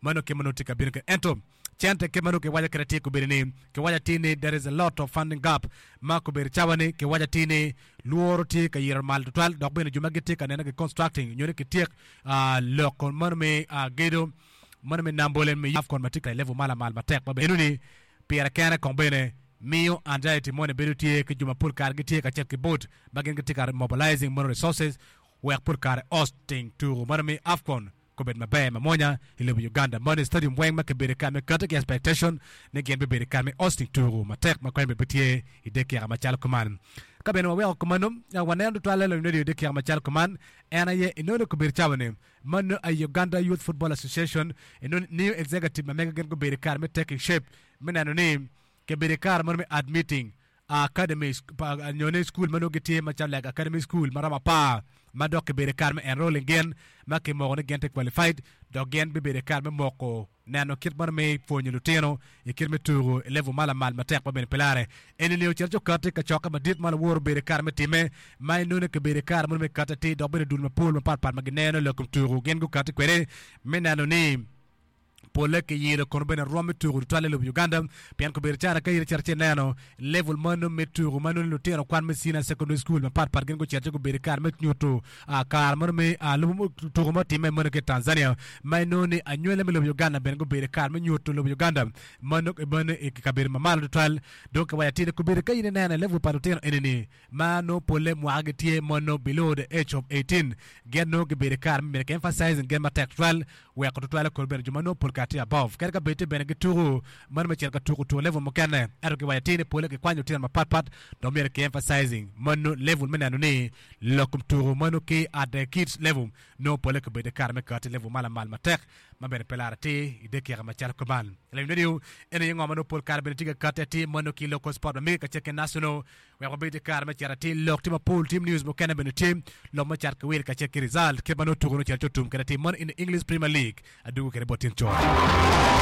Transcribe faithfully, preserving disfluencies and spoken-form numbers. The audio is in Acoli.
Mano kit ma nongo tye ka bino kwede. Ento cente kit ma nongo kiwaco kwede atir kobedo ni kiwaco atir ni there is a lot of funding gap ma kobedo cawa ni kiwaco atir ni lworo tye ka yito malo tutwal dok bene jo ma gitye ka nene ki constructing nyo ni kityek ah, lok mano me ah, gedo mano me Namboole me AFCON ma tye ka i level ma lamal matek ma bene ni pire kene kong bene miyo anxiety moni bedo tye ki jo mapol kare gitye kacel ki board ma gin gitye ka mobilizing mono resources wek pol kare hosting tuko mano me AFCON kobed maber mamwonya i lobo Uganda. Mano stadium weng ma kibedo ka me kati ki expectation ni gin bibedo ka me hosting tuko matek ma kwen bene tye i dakika macalo kuman. Ka bene waweko kumano, waneno tutwalle lony radio i dakika macalo kuman, en aye inongo kobedo cawa ni mano a Uganda Youth Football Association inongo new executive ma mega gin gubedo kare me taking shape me neno ni kibedo kare mano me admitting academy nyo ni school ma nongo gitye macalo like academy school ma romo apar ma dok kibedo kare me enrolling gin ma kimoko ni gin tye qualified dok gin bibedo kare me moko neno kit mano me pwonyo lutino i kit me tuko i level ma lamal matek ma bene pe lare. Eni ni ocito ci okati kacokke madit ma laworo obedo kare me time ma inongo kibedo kare mano me kati atir dok bene dul mapol mapatpat ma gineno lok kom tuko gin gukati kwede me neno ni polle kiyilo kono bene rwom me tuko tutwalle i lobo Uganda pien kobedo cara ka in icito ci ineno level mano me tuko ma nongo lutino kwan me senior secondary school mapatpat gin gucito ci gubedo kare me nyuto kare mano me lubo tuko ma otimme mano ki i Tanzania ma inongo ni anywele me lobo Uganda bene gubedo kare me nyuto lobo Uganda mano mano i kabedo mamalo tutwal dong kiwaco atir ni kobedo ka in ineno level pa lutino eni-ni ma nongo polle mwaka gitye mano below the age of eighteen gin nongo gibedo kare me myero ki emphasizing gin matek tutwal weko tutwal kor bene jo ma nongo pol kare tye above kadi ka bed tye bene gituko mano me cito ka tuko tuko level mukene ento kiwaco atir ni pole kikwanyo lutino mapatpat dong myero ki emphasizing mano level me neno ni lok kom tuko mano ki at the kids level nongo pole kibedo kare me kati level ma lamal matek ma bene pe laro atir i dakika macalo kuman. Lawiny radio eni aye ngo ma nongo pol kare bene tye ka kati atir mano ki local sport ma mege kacel ki national wek wabed i kare me cito atir lok tye mapol team news mukene bene tye lok me cat ki wil kacel ki result kit ma nongo tuko nongo cito ci otum kwede atir mano in the English Premier League adwogo kwede bot tin con.